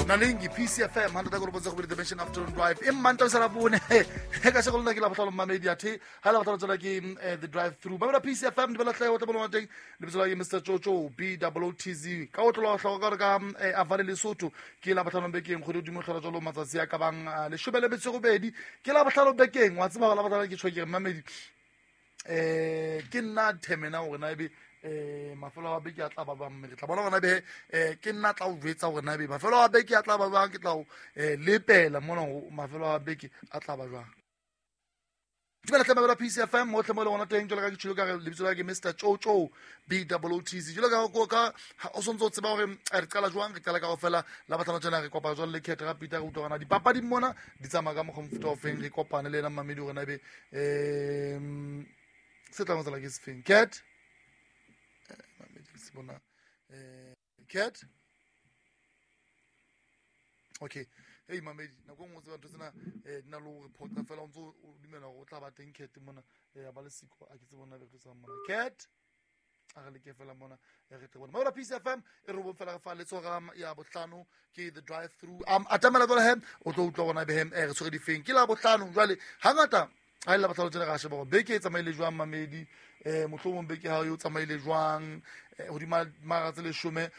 Nalingi PCFM 100 ka robotsa go bile Dimension Afternoon Drive e mmanta sa la bone he ka shego lona ke la botlhalo mmamedi athe ha la botlhalo tsela ke the drive through ba bela PCFM di bela tlhe o tla bona teng lebitso la ke Mr Jojo B O T Z ka o tlola tlhoka ka re ka avale Lesotho ke la botlhalo bekeng go di mo tlhola jalo matsatsi a ka bang leshome le metso robedi ke la botlhalo bekeng wa tseba la botlhalo ke tshweke mmamedi ke nna themena gore na ebe mafelo a beke a tla ba bang mme re tla bona gona be ke nna tla o jwetsa gore na ebe mafelo a beke a tla ba bang ke tla o lepela mona mafelo a beke a tla ba jwang. Dumela tle mabela PCFM mo tle mo le gona teng jalo ka ke tshilo ka re lebitso la ke Mr Jojo B O T Z jalo ka ka o sontse o tseba gore re qala jwang re qala ka go fela la batlana tsena re kopa jwang le Kate ga Peter re utlwa gona dipapadi mona di tsamaya ka mokgwa mofuta o feng re kopane le ena mmamedi gore na ebe se tla tsela ke sefeng Cat mamedi se bona Cat okay hey mamedi nako nngwe tseba ntho tsena di na le gore phoqa fela o ntse o dumela gore o tla ba teng Cat mona ya ba le siko a ke tse bona be re tsa mona Cat a re leke fela mona re tle bona mabela PCFM e re bong fela re fa letsoga ya bohlano ke the drive through atamela jwale he o tlo utlwa gona be he re tshwere difeng ke la bohlano jwale hangata ha ile bohlano tsena ga sheba gore beke e tsamaile jwang mamedi mohlomong beke ha yo tsamaile jwang hodima mara tse leshome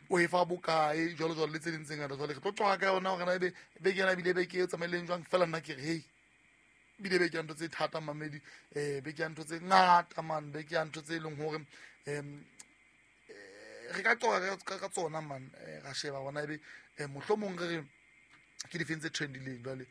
o e fa bokae jwalo jwalo le tse ding tse ngata jwale re tlo qoqa ka yona gore na ebe beke ena ebile beke e tsamaileng jwang fela nna ke re hei bile beke ya ntho tse thata mamedi beke ya ntho tse ngata man beke ya ntho tse e leng hore re ka qoqa ka tsona man ra sheba gona ebe mohlomong re re ke difeng tse trendileng jwale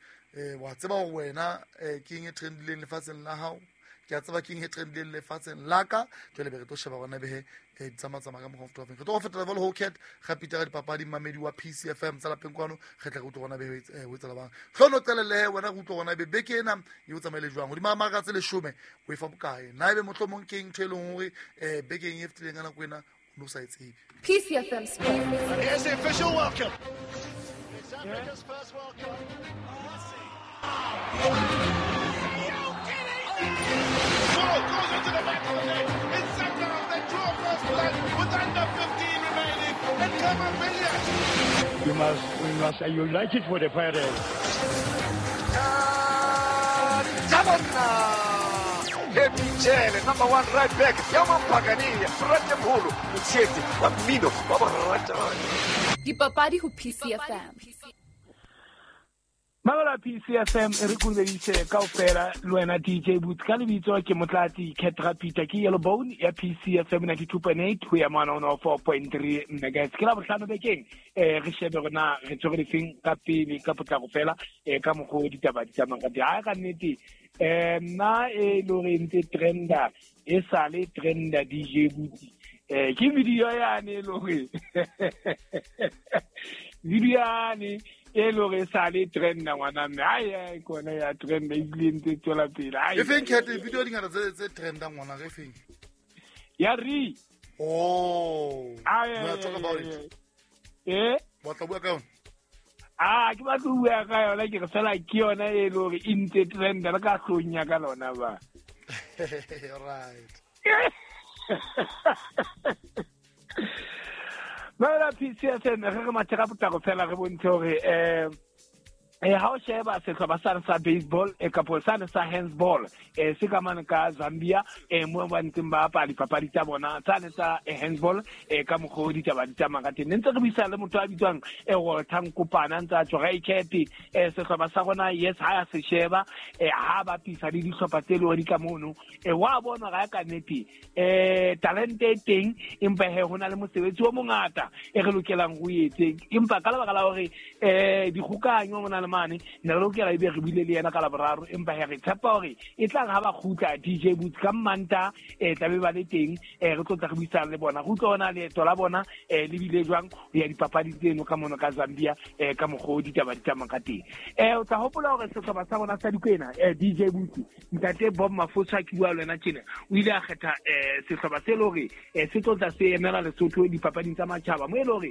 wa tseba gore wena ke eng e trendileng lefatsheng la hao ke a tseba ke eng e trendileng lefatsheng la ka jwale be re tlo sheba gona behe di tsamatsamaya ka mokgwa wa feng re tlo go fetela jalo ho Cat ga Peter ga dipapadi mmamedi wa PCFM tsa lapeng kwano re tla re utlwa gona behe ho etsala bang tlhono qelele wena re utlwa gona be beke ena e o tsamaile jwang hodima maka tse leshome o e fa bokae na ebe mohlomong ke eng ntho e leng hore bekeng e fetileng ka nako ena o ne o sa e tsebe. PCFM Sports. Here's the official welcome. It's Africa's first World Cup. Ball goes into the back of the net. It's Sakharov that draw first blood with under 15 remaining. And Khama Billiat. We must unite it for the parents. Michele, number 1 right back. Yama Pagani, Frate Mholo, Motsheti, wa mmino wa boratani. Dipapadi ho PCFM. Mabela PCFM e re kurbedise kaofela le wena DJ Boots ka lebitso ke Motlatsi Cat Rapita ke Yellow Bone ya PCFM 92.8 ho ya mona 104.3 megahertz. Ke la bohlano bekeng re shebe rona re tshwere difeng ka pele ka potlako fela ka mokgwa ditaba di tsamayang ka teng. Ha ka nnete nna e le hore ntse trenda e sale trenda DJ Boots ke video yane e le hore video yane e le hore e sale trenda ngwana mme ai kona ya trenda ebile ntse tswela pele. E feng Cat video di ngata tse trenda ngwana re feng ya re oh you talk about it wa tla bua ka yona. Ke batla ho bua ka yona ke re fela ke yona e le hore e ntse trenda le ka hlong ya ka lona ba. Right. Mabela PCFM re mathe ka potlako fela re bontshe hore ha o sheba sehlopha sane sa baseball kapo sane sa handsball se ka mane ka Zambia mo ba ntseng ba bapala dipapadi tsa bona sane sa handsball ka mokgwa o ditaba di tsamayang ka teng. Ne ntse re buisana le motho a bitswang Walter Nkopana ntse a tswa Cat sehlopha sa rona yes ha ya se sheba ha bapisa le dihlopha tse le hore di ka mono wa bona ga ka nnete talente e teng empa he hona le mosebetsi o mongata e re lokelang ho etse empa ka lebaka la hore dikgokanyo mona le mane ne re lokela ebe re buile le yena ka laboraro empa he re tshepa hore e tla ha ba kgutla DJ Boots ka Manta tla be ba le teng re tlo tla re buisana le bona re utlwa ona leeto la bona le bile jwang ho ya dipapadi tseno ka mono ka Zambia ka mokgwa o ditaba di tsamayang ka teng. O tla hopola hore sehlopha sa rona sa Dikwena DJ Boots ntate Bob Mafosa ke bua le wena tjena o ile a kgetha sehlopha se le hore se tlo tla se emela Lesotho dipapading tsa matjhaba mo e le hore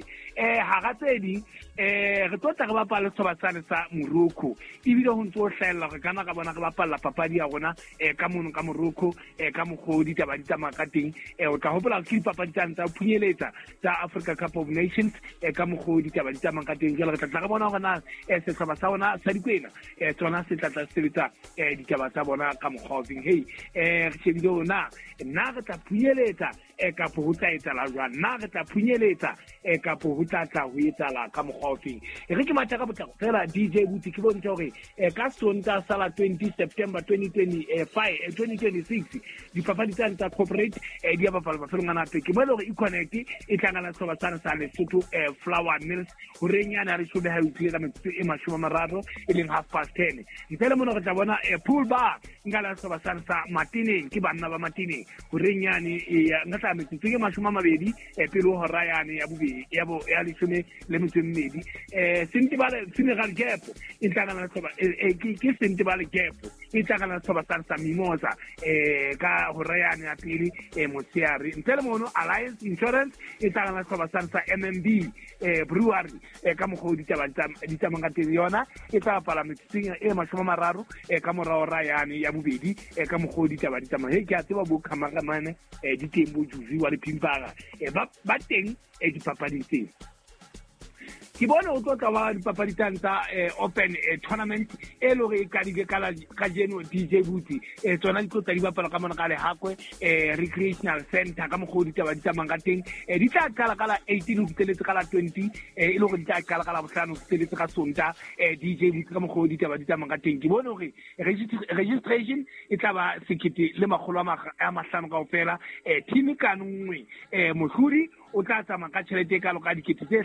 hara tse ding re tlo tla re bapala sehlopha sane sa ka Morocco ebile ho ntse ho hlahella hore kana ka bona re bapalla papadi ya rona ka mono ka Morocco ka mokgwa o ditaba di tsamaya ka teng. O tla hopola ke dipapadi tsane tsa ho phunyeletsa tsa Africa Cup of Nations ka mokgwa o ditaba di tsamayang ka teng. Jwale re tla tla re bona hore na sehlopha sa rona sa Dikwena tsona se tla tla sebetsa ditaba tsa bona ka mokgwa o feng. Hey, re shebile hore na nna re tla phunyeletsa kapo ho tla etsahala jwang, na re tla phunyeletsa kapo ho tla tla ho etsahala ka mokgwa o feng. E re ke matha ka potlako fela DJ Buti ke bontshe hore ka Sontaha sa la 20 September 2025 2026 dipapadi tsane tsa corporate di a bapalwa mafelong a nape. Ke mo e le hore E-Connect e tla ngala sehlopha sane sa Lesotho Flower Mills horeng yane ya leshome ha e utlwile ka metsotso e 30 e leng 10:30. Ntle le mona re tla bona Pool Bar nka la sehlopha sane sa Matineng, ke banna ba Matineng horeng yane nka tla metsotso ke 20 pele ho hora yane ya bobedi ya bo ya 12. Sentebale Funeral Gap e tla ngala sehlopha ke Sentebale Gap e tla ngala sehlopha sane sa Mimosa ka hora yane ya pele motshehare. Ntle le mono Alliance Insurance e tla ngala sehlopha sane sa MMB Brewery ka mokgwa o ditaba di tsamayang ka teng. Yona e tla bapala metsotsong e 30 ka mora hora yane ya bobedi ka mokgwa o ditaba di tsamayang. He ke a tseba bo cameraman di teng bo Juzi wa le Pimpara ba teng dipapading tseo. Ke bone o tlo tla wa dipapadi tsane tsa open tournament e le hore e qadile ka la kajeno DJ Buti tsona di tlo tla di bapala ka mona ka Lehakwe Recreational Center ka mokgwa o ditaba di tsamayang ka teng. Di tla qala ka la 18 ho fihleletse ka la 20 e le hore di tla qala ka la bohlano ho fihleletse ka Sontaha DJ Buti ka mokgwa o ditaba di tsamayang ka teng. Ke bone hore registration e tla ba 1500 kaofela. Team ka nngwe mohlodi o tla tsamaya ka tjhelete e kalo ka dikete tse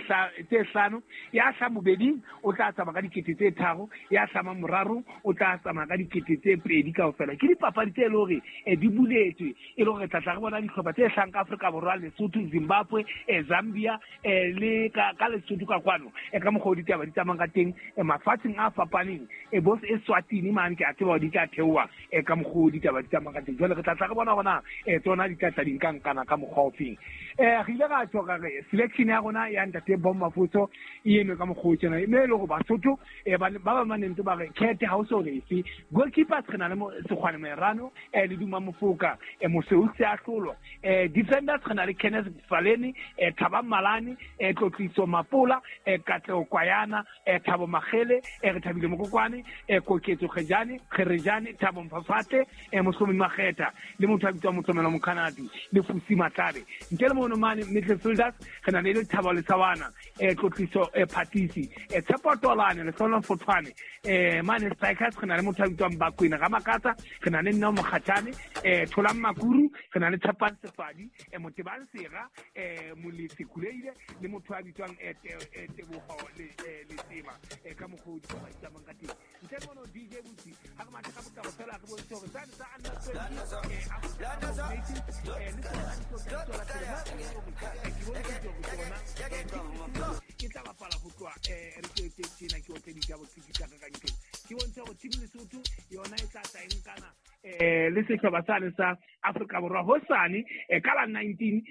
5, ya hlama bobeding o tla tsamaya ka dikete tse 3, ya hlama moraro o tla tsamaya ka dikete tse 2 kaofela. Ke dipapadi tse e le hore di buletswe e le hore tla tla re bona dihlopha tse hlahang ka Afrika Borwa, Lesotho, Zimbabwe, Zambia le ka Lesotho ka kwano ka mokgwa o ditaba di tsamayang ka teng mafatsheng a fapaneng bo Eswatini mane ke a tseba hore di tla theoha ka mokgwa o ditaba di tsamayang ka teng. Jwale re tla tla re bona hore na tsona di tla tla di nkankana ka mokgwa o feng. Re ile ra tjho ka re selection ya rona ya ntate Bomma Foso e eme ka mokgwa o tjena, mme e le hore Basotho ba ba manentse ba re khethe ha o so re efe. Goalkeepers re na le Sekgwane Merano le Duma Mofoka Moseu Seahlolo. Defenders re na le Kenneth Faleni, Thabang Malane, Tlotliso Mapola, Katleho Kwayana, Thabo Magele, re Thabile Mokokwane, Koketso Kgejane, Kgerejane, Thabo Mphafate, Mohlomi Makgetha le motho a bitswang Motlomelo Mokhanadi le Fusi Matlabe. Ntle le mono mane midfielders re na le Thabo Lesawana, Tlotliso Phatisi, Tshepo Tolane, Lehlolo Fothwane. Mane strikers re na le motho a bitswang Bakwena Ramakatsa, re na le Neo Mokgatjane, Tholang Makuru, re na le Tshepang Sefadi, Motebang Sera, Molefi Kuleile le motho a bitswang Teboho Letsema ka mokgwa o ditaba di tsamayang ka teng. Ntle le mono DJ Buti ha re mathe ka potlako fela re bontshe hore tsane tsa under 20 Africa Cup of Nations le tsona di tlo tla di tswela pele. Ke bontshe hore tsona ke tla bapala ho tloha re ke tjena ke otle ditaba tse di tla ka nkeng. Ke bontshe hore team Lesotho yona e tla tla e nkana le sehlopha sane sa Afrika Borwa hosane ka la 19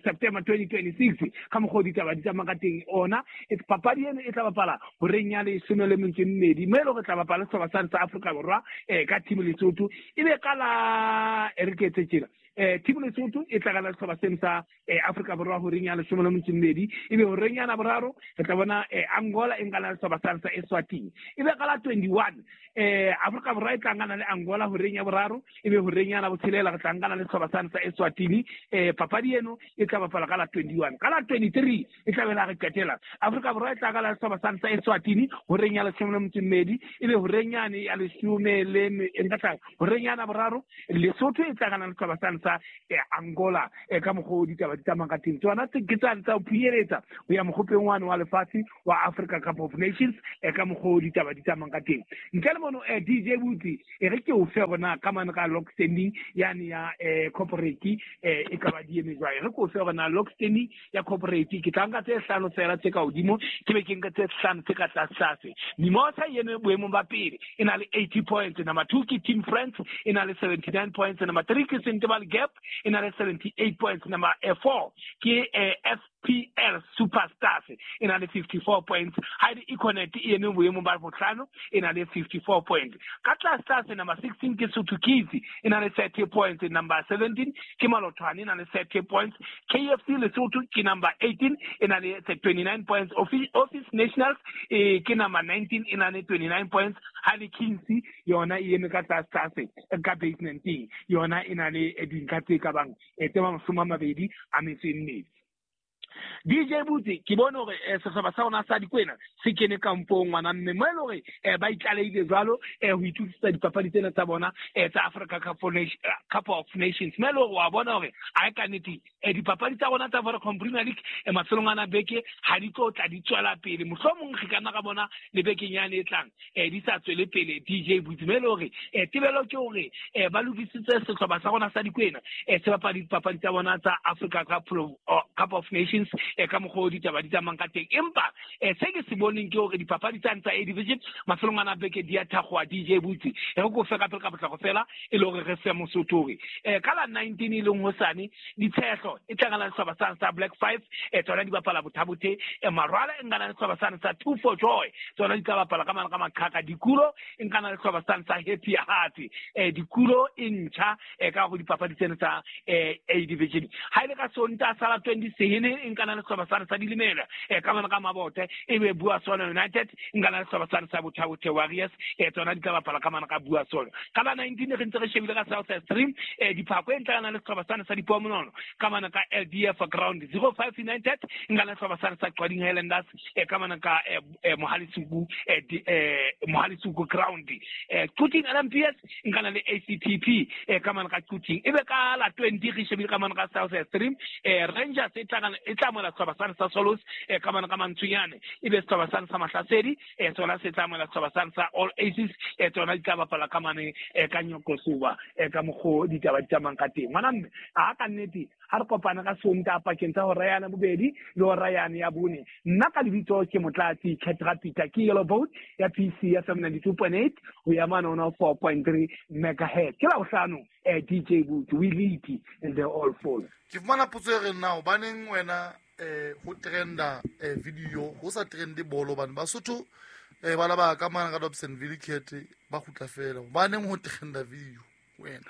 September 2026 ka mokgwa o ditaba di tsamaya ka teng. Ona papadi eno e tla bapala horeng ya 12 mme e le hore tla bapala sehlopha sane sa Afrika Borwa ka team Lesotho e be ka la re ke etse tjena. Team Lesotho e tla ka sehlopha seno sa Afrika Borwa horeng ya 12 e be horeng ya boraro re tla bona Angola e nkana le sehlopha sane sa Eswatini e be ka la 21 Afrika Borwa e tla nkana le Angola horeng ya boraro e be horeng ya botshelela re tla nkana le sehlopha sane sa Eswatini. Papadi eno e tla bapala ka la 21. Ka la 23 e tla be la re qetela Afrika Borwa e tla ka la sehlopha sane sa Eswatini horeng ya 12 e be horeng yane ya leshome le nka tla horeng ya boraro Lesotho e tla kana le sehlopha sane sa Angola ka mokgwa o ditaba di tsamayang ka teng. Tsona ke tsane tsa ho phunyeletsa ho ya mokgopeng wane wa lefatshe wa Africa Cup of Nations ka mokgwa o ditaba di tsamayang ka teng. Ntle le mono DJ Buti e re ke o fe hore na ka mane ka log standing yane ya corporate e ka ba di eme jwang. E re ke o fe hore na log standing ya corporate ke tla nka tse 5 fela tse ka hodimo ke be ke nka tse 5 tse ka tlase tlase. Mimosa ene boemong ba pele e na le 80 points, number 2 ke Team France e na le 79 points, number 3 ke Sentebale Gap e na le 78 points, number 4 ke PL Superstars e na le 54 points. Ha le Econet e eme boemong ba bohlano e na le 54 points. Ka tlase number 16 ke Sotho Kids e na le 30 points. Number 17 ke Malothwane e na le 30 points. KFC Lesotho ke number 18 e na le 29 points. Office Nationals ke number 19 e na le 29 points. Ha le Kings yona e eme ka tlase ka basement yona e na le dintlha tse ka bang tse 24. DJ Butsi ke bone hore sehlopha sa rona sa Dikwena se kene kampong ngwana mme mo e le hore ba itlaleile jwalo ho itukisetsa dipapadi tsena tsa bona tsa Africa Cup of Nations. Mme le hore wa bona hore a ka nnete dipapadi tsa rona tsa Vodacom Premier League mafelong ana beke ha di tlo tla di tswela pele, mohlomong re ka nna ka bona le bekeng yane e tlang di sa tswele pele. DJ Butsi mme le hore tebelo ke hore ba lokisitse sehlopha sa rona sa Dikwena se bapala dipapadi tsa bona tsa Africa Cup of Nations ka mokgwa o ditaba di tsamayang ka teng. Empa se ke se boneng ke hore dipapadi tsane tsa A Division mafelong ana beke di a thakgowa. DJ Butsi re ko fe ka pele ka potlako fela e le hore re fe Mosotho hore ka la 19 e leng hosane Ditshehlo e tlangana le sehlopha sane sa Black 5 tsona di bapala Bothabothe. Marwala e nkana le sehlopha sane sa 2 for Joy tsona di tla bapala ka mane ka Maqhaka. Dikulo e nkana le sehlopha sane sa Happy Heart. Dikulo e ntjha ka go dipapadi tsena tsa A Division. Ha ile ka Sontaha sa la 20 sehene e nkana le sehlopha sane sa Dilimela ka mane ka Mabote, e be Buasono United nkana le sehlopha sane sa Bothabothe Warriors tsona di tla bapala ka mane ka Buasono. Ka la 19 re ntse re shebile ka South Stream Diphako e ntlana le sehlopha sane sa Dipomonono ka mane ka LDF Ground. 05 United nkana le sehlopha sane sa Qwading Highlanders ka mane ka Mohalisuku Ground. Quthing LMPS nkana le ACTP ka mane ka Quthing. E be ka la 20 re shebile ka mane ka South Stream Rangers e tla mola sehlopha sane sa Solos ka mane ka Mantsunyane, e be sehlopha sane sa Mahlasedi sona se tla mola sehlopha sane sa All Aces tsona di tla bapala ka mane ka Nyokosuba ka mokgwa ditaba di tsamayang ka teng. Ngwana mme a ka nnete ha re kopana ka Sontaha pakeng tsa hora ya bobedi le hora yane ya bone. Nna ka lebitso ke Motlatsi Ketra Peter ke Yellow Boat ya PC ya 92.8 ho ya mane 104.3 megahertz. Ke la bohlano DJ Butsi, we lead and they all fall. Ke fumana potso e reng na hobaneng wena ho trenda video ho sa trende bolo bana Basotho bana ba ka mana ka Dobsonville Kete ba kgutla fela, hobaneng ho trenda video wena?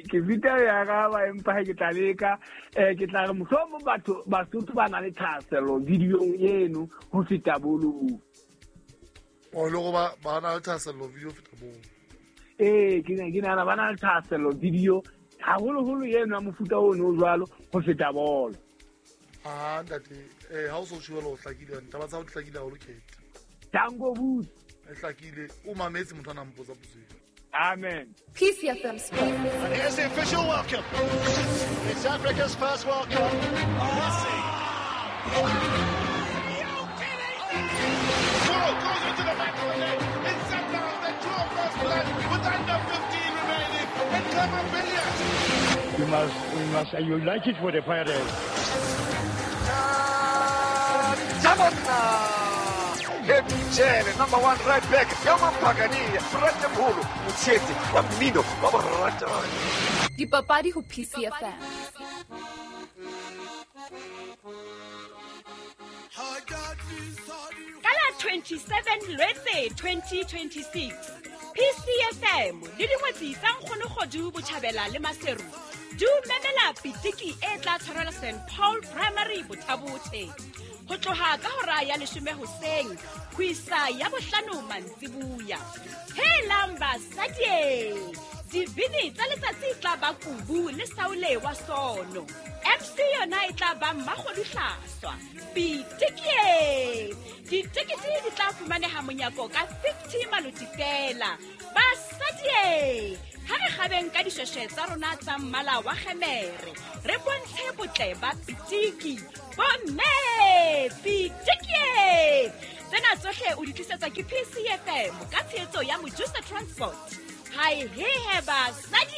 Ke vita ya ka ba empa ke tla leka ke tla re mohlomong batho Basotho ba na le thahasello videong eno ho feta bolo. O le go ba na le thahasello video feta bolo. Ke nahana ba na le thahasello video haholoholo eno ya mofuta ono o jwalo ho feta bolo. Ah ntate, ha o so tjhubela o hlakile, taba tsa ho hlakile haholo Kete. Tango Butsi. E hlakile, o mametse motho a nang mpotsa potso eo. Amen. PCFM Sports. And here's the official welcome. It's Africa's first World Cup. Messi. Ball goes into the back of the net. It's Sundowns that draw first blood with under 15 remaining. And Clement Billiard. We must unite it for the Pirates. Jele, number 1 right back, Yamampagania, Ratemholo, Motshetsi, wa mmino wa boratani. Dipapadi ho PCFM. Ka la 27 Lwetse 2026, PCFM le dingwetsi tsa Nkgonokgodu Botjhabela le Maseru di memela pitiki e tla tshwarelwa St Paul Primary Bothabothe ho tloha ka hora ya 10 hoseng ho isa ya 5 mantsibuya. Helang basadi, dibini tsa letsatsi tla ba Kubu le Saule wa Sono. MC yona e tla ba Mmakgodu Hlaswa. Pitiki! Ditekete di tla fumaneha monyako ka 50 maloti fela. Basadi, ha re kgabeng ka dishweshwe tsa rona tsa mmala wa kgemere, re bontshe botle ba pitiki. Bomme, pitiki! Tsena tsohle o di tlisetswa ke PCFM ka tshehetso ya Mojusa Transport. Hai he he basadi!